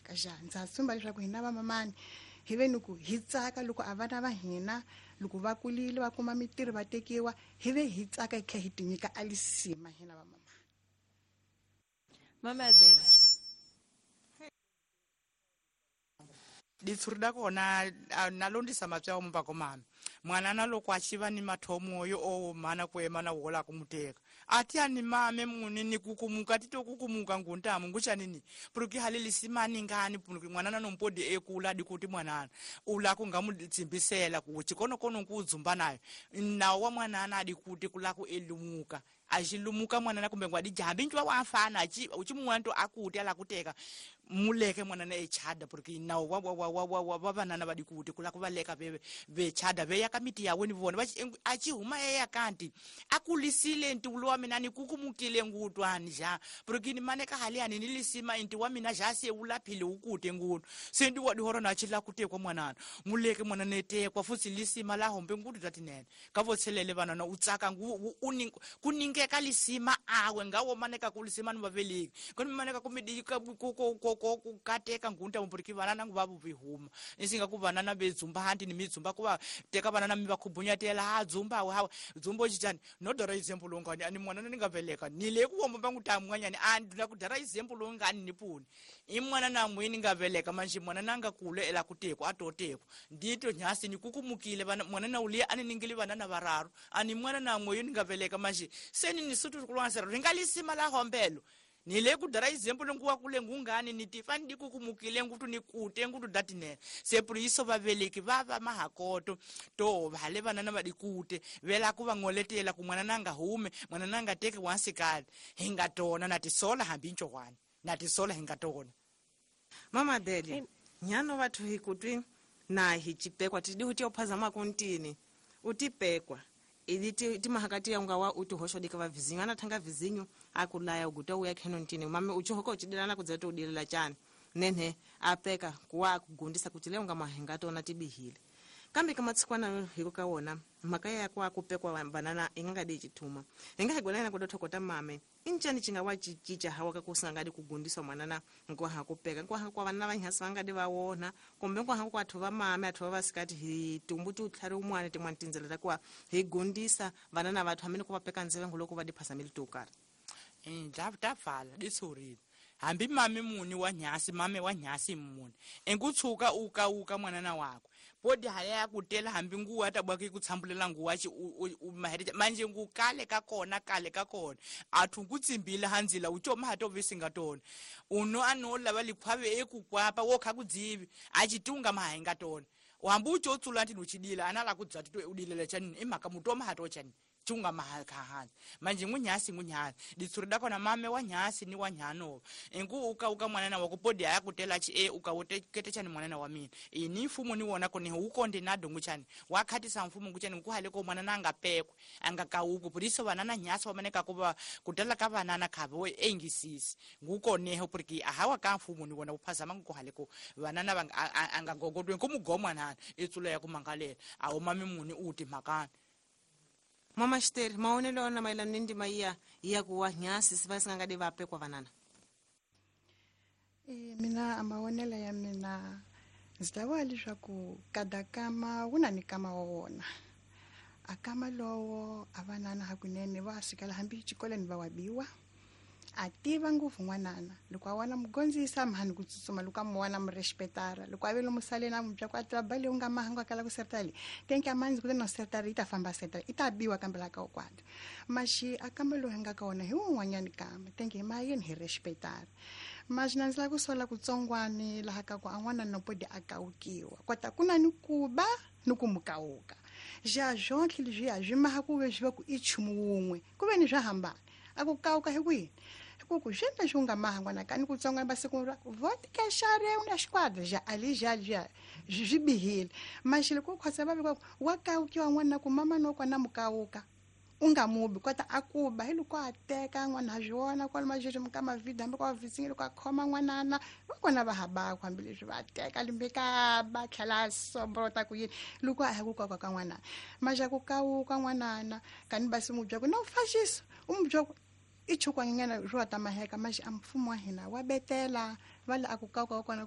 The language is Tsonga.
tsaka ja ndza tsumba leswaku hina vamamani hi ve ni ku hi tsaka loko a vana va hina loko va kulile va kuma mitirho va tekiwa hi ve hi tsaka hi tlhela hi tinyika a lisima hina vamamani. Mama Adele. Ditshuri da kona nalondisa mapya wa mupako mami mwanana loko a xiva ni mathomo yo o mana ku ema na wola ku muteka ati ani mame muni ni kukumuka tito kukumuka nguntamu nguchanini puruki haleli simani ngani puruki mwanana nompodi ekula dikuti mwanana ula kungamutsimbisela ku chikonokono kudzumba nayo nawo wa mwanana adikuti kula ku elumuka axilumuka mwanana kumbe ngwadi jambi ncwa wa fana achi uchimuwanto akuti ala kuteka muleke mwanana echada porque nawo wa vanana vadikuti kula kuvaleka vechada veya ka miti yawe ni vona achihuma eya kanti akulisile ntiwulo wa mina ni kukumukile ngutwani ja porque ni maneka hali ani nilisima inti wa mina ja se ulaphile ukute ngutu se ndi wadihoro na chila kutekwa mwanana muleke mwanana etekwa futsi lisima la hombe ngutu tatinene kavotselele vanana utsaka kuningeka lisima awe ngawo maneka kulisima ni vaveleki koni maneka kumidika kukateka ngunta mupuriki vanana nguva vuvihuma isinga ku vanana vedzumba hanti ni midzumba kuva teka vanana mi vakhubunyatela ha dzumba hawa dzumba uchichani nodora example longani ani mwanana ni nga veleka ni le ku womba vangu ta mwanyani a ndina ku dara example longani ni puni i mwana na mwini nga veleka manje mwanana nga kule ela kutekwa atotekwa ndito nyasi ni kukumukile vana mwanana uliya ani ningili vanana vararu ani mwana na mweyo ni nga veleka manje seni ni sutu kulwansera ringalisima la hombelo nile kudara example nguwa kule ngungani nitifani dikukumukile ngutu nikute ngutu datine sepuriso vaveleki vava mahakoto to vale vanana vadikute vela kuva ngoletela ku mwana nanga hume mwana nanga teke wansikali hingatona natisola hambi nchowani natisola hingatona. Mama Adele nyano vathu hikutwi na hichipekwa tidi huti ophaza makuntini utipekwa ili timahakati ya ungawa uti hoshodika va vizinyo anathanga vizinyo akulaya uguta uya kheno ntini mame uchihoka uchidelana kudzeta udilela chani nenhe apeka kuwa kugundisa kuti leo ngamahenga tona tibihile kambe kamatsikwana hiko kawona mhaka ya kwa kupekwa banana ingangadi chithuma ingahigwelana kudothokota mame inchani chingawa chichicha hawa kakusangadi kugundiswa mwanana nkwaha kupeka nkwaha kwa vana vanhasi vangadi vawona kumbe nkwaha kwa athu va mame athu va vasikati hi tumbu ti utlhari umwana tin'wana tindzela ta kuwa hi gundisa vanana vathu hamene ku va peka ndzevengo loko va diphasameli to karhi. Ta pfala ditshurile hambi mame muni wa nyasi mame wa nyasi muni enkutshuka ukauka mwanana wakwe podi haya kutela hambi nguwa tabwaki kutsambulela nguwa chi maherita manje ngukale kakona kale kakona athu kutsimbila hanzila uchoma hatovisinga tona uno anola valikhwave ekukwapa wokha kudzivi achitunga mahenga tona wambu uchotsula nti nuchidila anala kudzati to udilela chani imaka mutoma hatochani chunga mahakahani manje ngunyasi ngunyasi ditsuri dakona mame wa nyasi ni wa nyano engu uka uka mwanana wa kupodi ayakutela chi e uka wote kete chani mwanana wa mina ini mfumo ni wona kone ukonde na dongu chani wakhatisa mfumo nguchani nguhale ko mwanana angapekwe angakauku puliso vanana nyasi wamaneka kuva kutela ka vanana khavo engisisi ngukoneho porque ahawa ka mfumo ni wona uphazama nguhale ko vanana angagogodwe nkumugomwa nani itsula ya kumangalela awu mame muni uti makani. Mama Xiteri, maonelo ona mayelana ni ndima iya ya kuwa nyasi siva singangadi vapekwa vanana. Mina maonelo ya mina ndzi ta vula leswaku kada kama wu na ni kama wa wona a kama lowo a vanana hakunene va sukela hambi xikolweni va wabiwa a tiva ngopfu n'wanana loko a wana mugondzisa mhani ku tsutsuma loko a mu wana mu respetara loko a vele musaleni a mubya ku a tiva bale u nga mahangu a kala ku sertali tenke a manzi kutani na sertali yi ta famba sertali i ta biwa kambe la ka ukwanda maxi a kamba lowu hi nga ka wona hi wun'wanyani kamba tenke hi mayeni hi respetara maxi na ndzi lava ku sola kutsongwani laha ka ku a n'wana nopodi a kawukiwa kota ku na ni ku ba ni ku mukawuka ja swontlhe leswiya swi maha ku ve swi va ku i nchumu wun'we ku ve ni swa hambana a ku kawuka hi kwini ku ku swi leswi u nga mahangwana ka ni kutsongwana va siku ra vodka xare u na xikwadi ja ali ja ja swi bihile maxi loko u khosa va veka wa kawukiwa n'wana ku mama no kona mukawuka u nga mubi kota a kuba hi loko a teka n'wana ha swi vona kwala maxexo ka mavhidi hambi kwa vhisingi loko a khoma n'wanana va kona va habaku hambileswi va teka limbe ka ba tlhela sombrota ku yini loko a ya ku kaka ka n'wanana maxa ku kawuka n'wanana kani basi mubya ku na u faxisa u mubya ku i chukwanyana ro ta maheka maxi a mfumo wa hina wa betela va la a ku kawuka wa kona.